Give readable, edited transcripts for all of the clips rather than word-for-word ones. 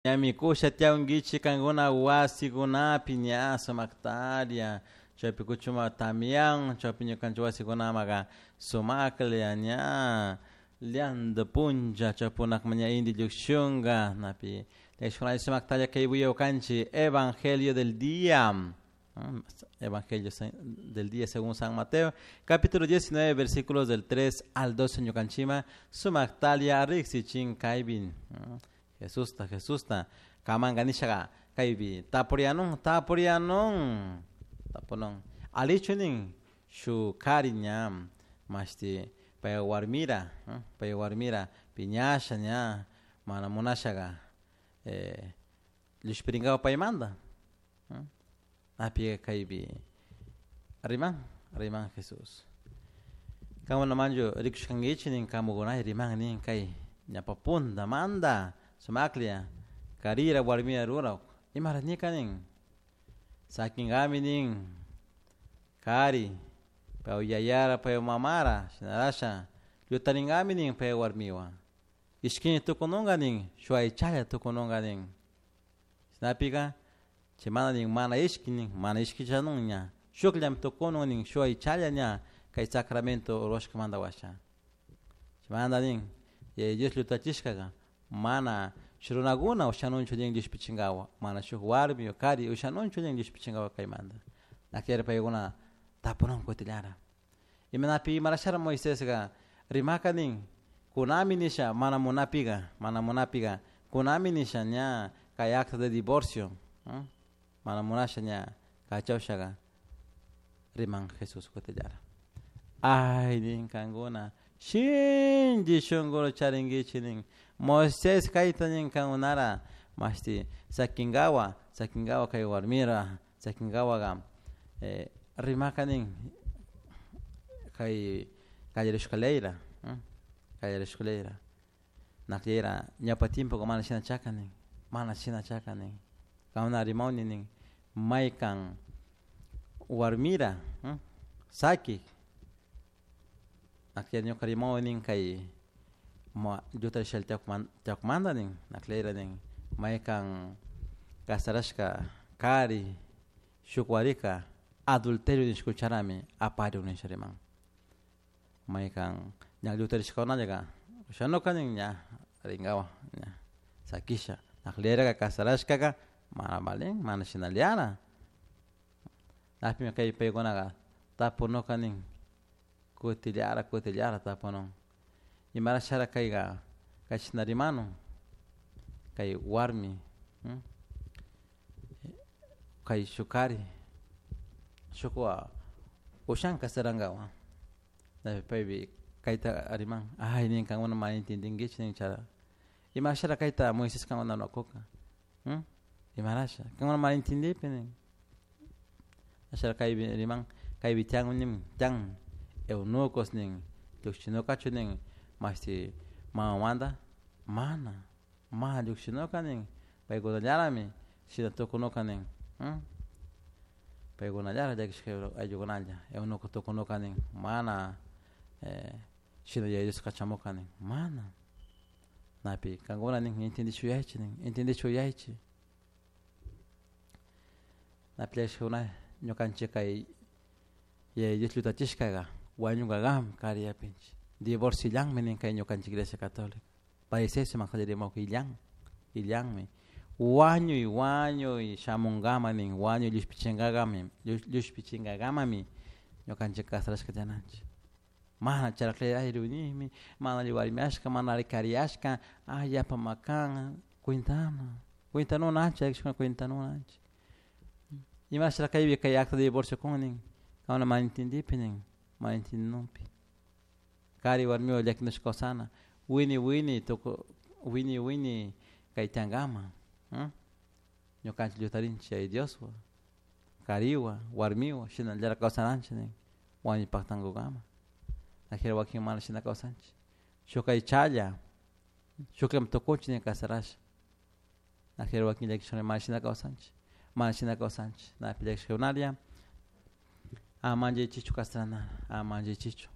Ñami kusha tiyankichik kankuna wasikunapi ña sumaktaria chaypi kuchuma tamian chaypi ñukanchik wasikunamaka sumaklla ña lianto puncha chaypunakma ña inti llukshunka napi sumaktalla kay kanchik Evangelio del día. Evangelio del día según San Mateo, capítulo 19, versículos del 3 al 12, ñukanchima, sumaktalia riksichin kaybin. Jesusta, Jesusta, kamanga nishaga, kaybi, tapurianun, tapurianun, tapunun. Alichunin, shu kari ña, mashti, pay warmira, pay warmira, piñasha ña, mana munashaga, llushpirinkawa paymanta. Api kaypi riman, riman Jesús. Kankuna manchu rikushkankichik nin kamukunay riman nin kay ñapa punta manda sumaklla karira warmira rurak imara nika nin sakinkami nin kari pay yayara pay mamara shinarasha llutarinkami nin pay warmiwan ishkini tukununka nin shuk aychalla tukununka nin shinapika chaymanta nin mana ishki nin mana ishkichanun ña shukllami tukunun nin shuk aychalla ña kay sacramento rurashkamanta washa chaymanta nin Yaya Dios llutachishkaka mana shuk runakuna ushanunchu nin llushpichinkawa mana shuk warmi o kari ushanunchu nin llushpichinkawa kaymanta nakllari paykuna tapunun kutillara imanapi imarashara Moisesga rimaka nin kunami nisha mana munapika mana munapika kunami nisha ña kay acta de divorcio mana munasha ña kachawshaka riman Jesús kutillara ay nin kankuna shinchi shunkuta charinkichik nin Moisés kayta nin kankunara mashti sakinkawa sakinkawa kay warmira sakinkawaka rimaka nin kay kallarishka leyra kallarishka leyra nakllayra ñawpa tiempoka mana shina chaka nin mana shina chaka nin kankuna rimawni nin maykan warmira sakik nakllay ñuka rimawni nin kay llutarishalla tiyakumanta nin nakllayra nin maykan kasarashka kari shuk warika adulterio nishka ucharami aparun nisha riman maykan ña llutarishkakunallaka ushanuka nin ña rinkawa ña sakisha naklayraka kasarashkaka mana valin mana shinallara napimi kay paykunaka tapunuka nin kutillara kutillara tapunun imarashara kayka kashna rimanun kay warmi kay shuk kari shukwa ushan kasarankawa paypi kayta riman ay nin kankuna mana entendinkichik nin chara imashara kayta Moises kankuna rurakuka imarasha kankuna mana entendipi nin ashara kaypi riman kaypi tiyan nin tiyan eunucos nin llukshinukachu nin mashti mamamanta mana mana llukshinuka nin paykunallarami shina tukunuka nin paykunallara llakishka ayllukunalla eunuco tukunuka nin mana shina Yaya Dios kachamuka nin mana napi kankuna nin entendishuyaychik nin entendishuyaychik napi llakishkakuna ñukanchik kay Yaya Dios llutachishkaka wañunkakami kari yapinchik divorcio illanmi nin kay ñukanchik Iglesia Católica parecerse kallarimuka illan illanmi wañuy wañuy shamunkama nin wañuy llushpichinkakami llushpichinkakamami ñukanchik kasarashka tiyananchik mana charaklla ay rinimi mana alli warmiashka mana alli kariyashka ay yapa makan cuentana cuentanunanchik cuentanunanchik imashara kaypi kay acta de divorcio kun nin kankuna mana entendipi nin mana entendinunpi kari warmiwan llakinashka kawsana wini wini tuku wini wini kay tiyankama ñukanchik llutarinchik Yaya Dioswan kariwan warmiwan shinallara kawsananchik nin wañuy paktankukama najera wakin mana shina kawsanchik shuk aychalla shukllami tukunchik nin kasarasha najera wakin llakishkuna mana shina kawsanchik mana shina kawsanchik napi llakishkakunalla ama manchaychikchu kasarana ama manchaychikchu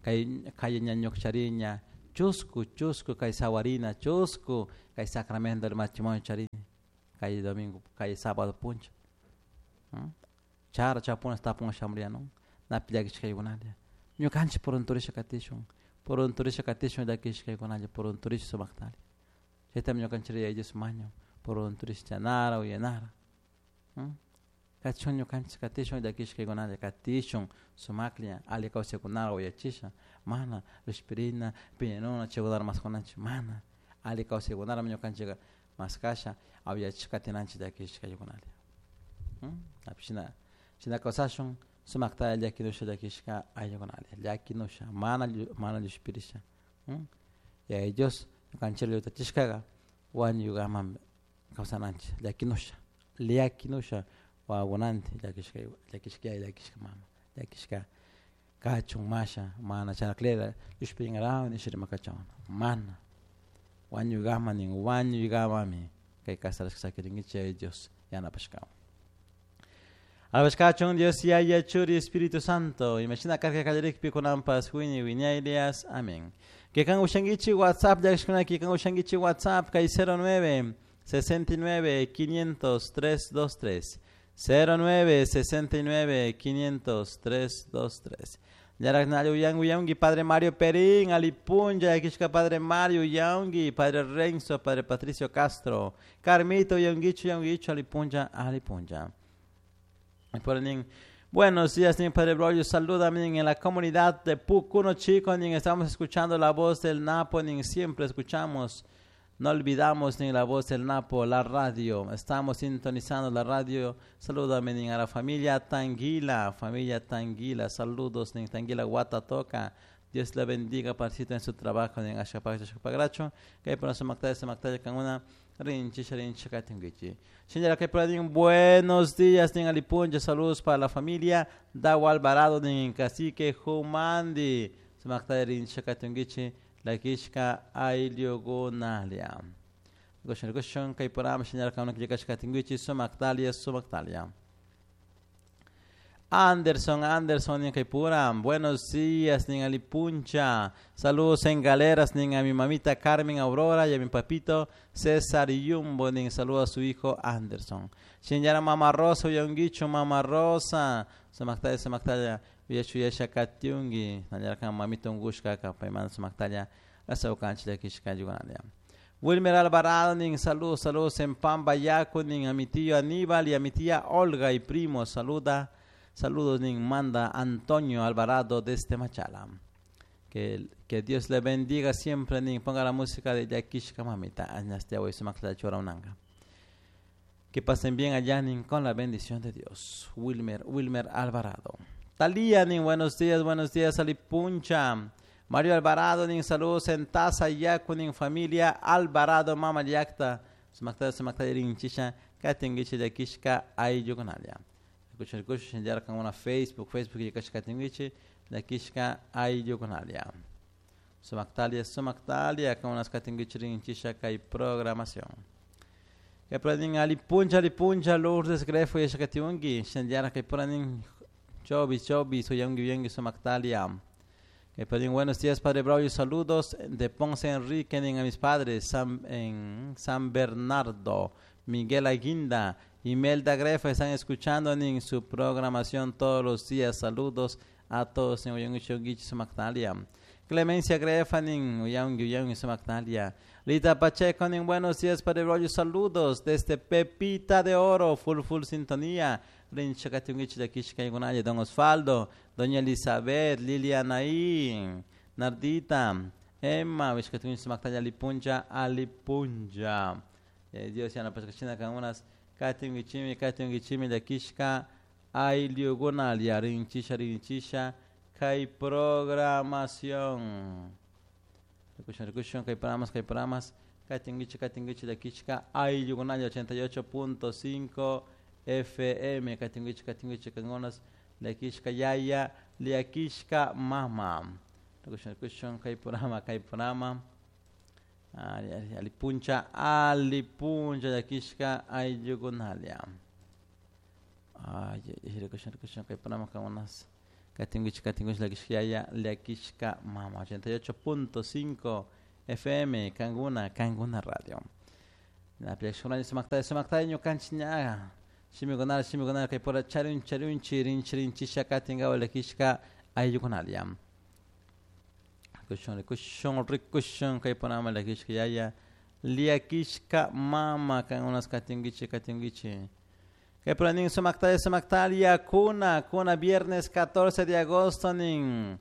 kay kaya ña ñukchariña. Chusku, chusku kay sawarina, chusku kay sacramento del matrimonio charini. Kay domingo, kay sábado puncha. Chara chapuna tapun shamriano. Napi llakishkaykunalla. Ñukanchik purunturisha katishun. Purunturisha katishun llakishkaykunalla, purunturisha sumaktalla. Chaytami ñukanchik Yaya Dios mañan. Purunturisha chanara, uyanara. Katishun ñukanchik katishun llakishkaykunalla, katishun sumaklla, alli kawsaykunara uyachisha. Mana llushpirina, piñanuna, chaykunara maskunanchik, mana. Alli kawsaykunarami ñukanchik maskasha, awyachish katinanchik llakishkaykunalla. Shina, shina kawsashun sumakta llakinusha llakishka ayllukunalla, llakinusha, mana mana llushpirisha. Yaya Dios ñukanchik llutachishkaga wañuykaman kawsananchik llakinusha, llakinusha wawakunanti llakishka llakishka yaya, llakishka mama, llakishka kachun masha, mana charaklera llushpirinkarawak nisha rimakachun, mana. Wañuykaman nin, wañuykamami kay kasarashka sakirinkichik Yaya Dios yanapashkawan. Alabashkachun Dios Yaya Churi Espíritu Santo, imashina karka kallarikpi kunanpas wiñay wiñaylias. Amén. Kikan ushankichik WhatsApp llakishkuna, kikan ushankichik WhatsApp kay 09 69 500 323. 09 69 500 323. Yaraknallo uyangi uyangi Padre Mario Perín, Alipunja, Llakishka Padre Mario uyangi, Padre Renzo, Padre Patricio Castro, Carmito uyangichu uyangichu, Alipunja, Alipunja. Buenos días, nin Padre Braulio, salúdame en la comunidad de Pucuno Chico, nin estamos escuchando la voz del Napo, nin siempre escuchamos, no olvidamos ni la voz del Napo, la radio, estamos sintonizando la radio. Salúdame nin a la familia Tanguila, saludos nin Tanguila Guatatoca, Dios la bendiga, parcito en su trabajo, nin Ashapag, que por su mactaya, su mactaya, con una rinchi, rinchi, katingichi. Señora, que por ahí, buenos días, nin Alipunja, saludos para la familia Dawa Alvarado, nin Cacique Jumandi, su mactaya, rinchi, katingichi, la kishka ayllukunalia. Goshan, goshan, kay por ahí, señora, que una kishka katingichi, su mactalia, su mactalia. Anderson, Anderson, nin Kaipura, buenos días, nin Alipuncha, saludos en Galeras, nin a mi mamita Carmen Aurora y a mi papito César Yumbo, nin saludo a su hijo Anderson. Señora Mama Rosa, uyanguicho, Mama Rosa, sumaktaya, sumaktaya, uyachu yasha katiungi, nanyarkan mamita ungushka, kapayman sumaktaya, asaukanchi llakishka yugunalia. Wilmer Alvarado, nin saludos, saludos en Pambayaco, nin a mi tío Aníbal y a mi tía Olga y primo, saluda. Saludos, nin manda Antonio Alvarado desde Machala. Que Dios le bendiga siempre, nin ponga la música de Llakishka Mamita. Que pasen bien allá, nin, con la bendición de Dios. Wilmer, Wilmer Alvarado. Talía, nin, buenos días, Alipuncha. Mario Alvarado, nin, saludos en Taza, Yaku, nin, familia Alvarado, Mama Yacta. Sumaktaya, sumaktaya, rin, chisha, katingichi, Llakishka, ayllukunalia. Escuchen, ya con una Facebook, Facebook y kashkatingichi, llakishka ayllukunalia. Sumaktalia, sumaktalia, con unas katingichi rinchisha kay programación. Que pranin alipuncha, alipuncha, Lourdes Grefo y shakatiungi, shendiara que pranin chobi, chobi, soyangi, yangi, sumaktalia. Que pranin buenos días, Padre Braulio, saludos de Ponce Enrique, a mis padres, en San Bernardo, Miguel Aguinda, Imelda Grefa, están escuchando en su programación todos los días. Saludos a todos en Uyang Sumaktalia. Clemencia Grefa en Uyang Sumaktalia. Rita Pacheco en buenos días, Padre Braulio, saludos desde Pepita de Oro, full full sintonía. Don Osvaldo, Doña Elizabeth, Lilianaí, Nardita, Emma, Alipunja, Alipunja. Dios ya no pesca con unas katingichimi, katingichimi, llakishka ayllukunalia, rinchisha, rinchisha, kay programación. Rikushun, rikushun, kay programas, kay programas, katingichi, katingichi, llakishka ayllukunalia, 88.5 FM, katingichi, katingichi, kangunas, llakishka yaya, llakishka mama. Rikushun, rikushun, kay programa, kay programa. Alipuncha, alipuncha, llakishka ayllukunalia. Ay, rikushun, rikushun, kay programa, kangunas. Katinguichi katinguichi llakishka llakishka mama 88.5 FM Kanguna Kanguna Radio. Napi sumaktalla sumaktalla ñukanchik ña shimikunala shimikunala kay pura charun charunchi rinchi rinchisha katinkawa llakishka ayllukunalla. Rikushun rikushun rikushun kay punama llakishka yaya llakishka mama kangunas katinkichi katinkichi. Kay pura nin sumaktalla sumaktalla kuna kuna viernes 14 de agosto nin.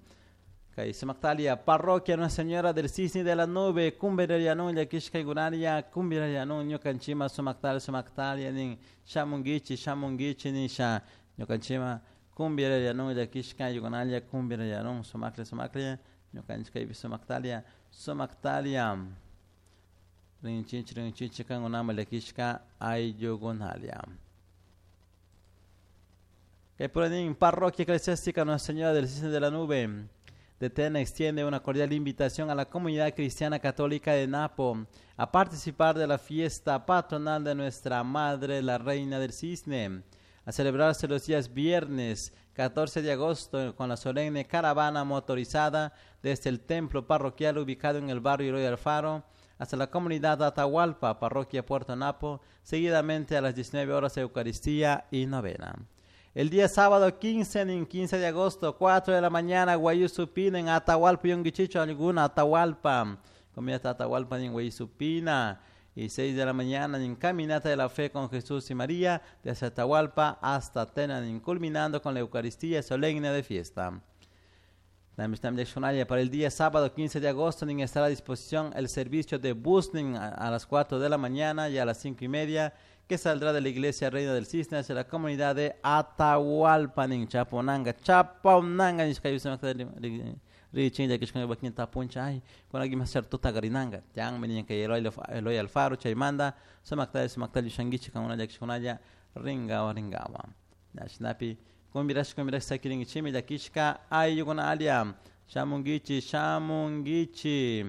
Kay sumaktalia parroquia Nuestra Señora del Cisne de la Nube kumbirarianun llakishkaykunaria kumbirarianun ñukanchima sumaktalia sumaktalia nin shamunkichi shamunkichi nisha ñukanchima kumbirarianun llakishkaykunaria kumbirarianun sumaklla sumaklla ñukanchik kaypi sumaktalia sumaktalia rinchichi rinchichi kankunama llakishka ayllukunalia. Kay pura nin parroquia eclesiástica Nuestra Señora del Cisne de la Nube de Tena extiende una cordial invitación a la comunidad cristiana católica de Napo a participar de la fiesta patronal de nuestra Madre, la Reina del Cisne, a celebrarse los días viernes 14 de agosto con la solemne caravana motorizada desde el templo parroquial ubicado en el barrio Eloy Alfaro hasta la comunidad de Atahualpa, parroquia Puerto Napo, seguidamente a las 19 horas Eucaristía y novena. El día sábado 15, en 15 de agosto, 4 de la mañana, Guayusupina, en Atahualpa, Yonguichicho, alguna, Atahualpa, comida Atahualpa en Guayusupina, y 6 de la mañana, en Caminata de la Fe con Jesús y María, desde Atahualpa hasta Tena, culminando con la Eucaristía solemne de fiesta. Para el día sábado 15 de agosto estará a disposición el servicio de bus a las 4 de la mañana y a las 5:30, que saldrá de la iglesia Reina del Cisne hacia la comunidad de Atahualpa, nin Chaponanga, Chaponanga, Eloy Alfaro, Chaymanda, Sumaktalla, Sumaktalla, Shangichi, Kangunalla, Llakishkunalla, ringawa, ringawa. Shinapi, kumbirash, kumbirash, sakiringichimi, llakishka, ayllukunalia, shamungichi, shamungichi,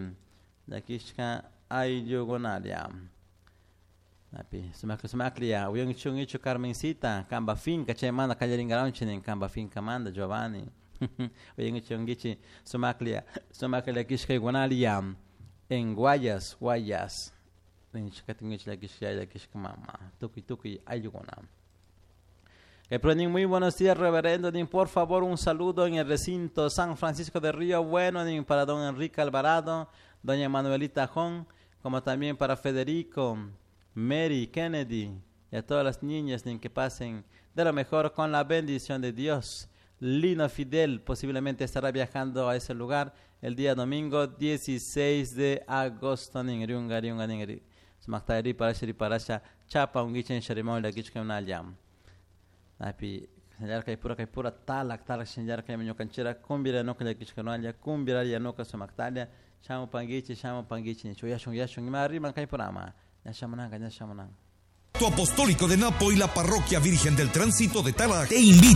llakishka, ayllukunalia. Napi, sumakli sumaklia, uyongichu ungichu Carmencita, kamba finca, chaymanda kallaringaronchi nin kamba finca manda Giovanni. Uyongichu ungichi sumaklia, sumaklia llakishka iguanalia, en Guayas, Guayas. Rinchikatingichi llakishka llakishka mama, tukuy tukuy ayllukuna. Muy buenos días, reverendo. Por favor, un saludo en el recinto San Francisco de Río Bueno para don Enrique Alvarado, doña Manuelita Jón, como también para Federico, Mary, Kennedy y a todas las niñas que pasen de lo mejor con la bendición de Dios. Lino Fidel posiblemente estará viajando a ese lugar el día domingo 16 de agosto. Chapa Napi señalka pura kay pura talak talak señalka ñukanchira kumbira nuka llakishkanalla kumbira yanuka sumaktalla shamu panguichi chuyashun yashun ima riman kay purama ñashamunanka ñashamunanka. Apostólico de Napo y la Parroquia Virgen del Tránsito de Tala te invita.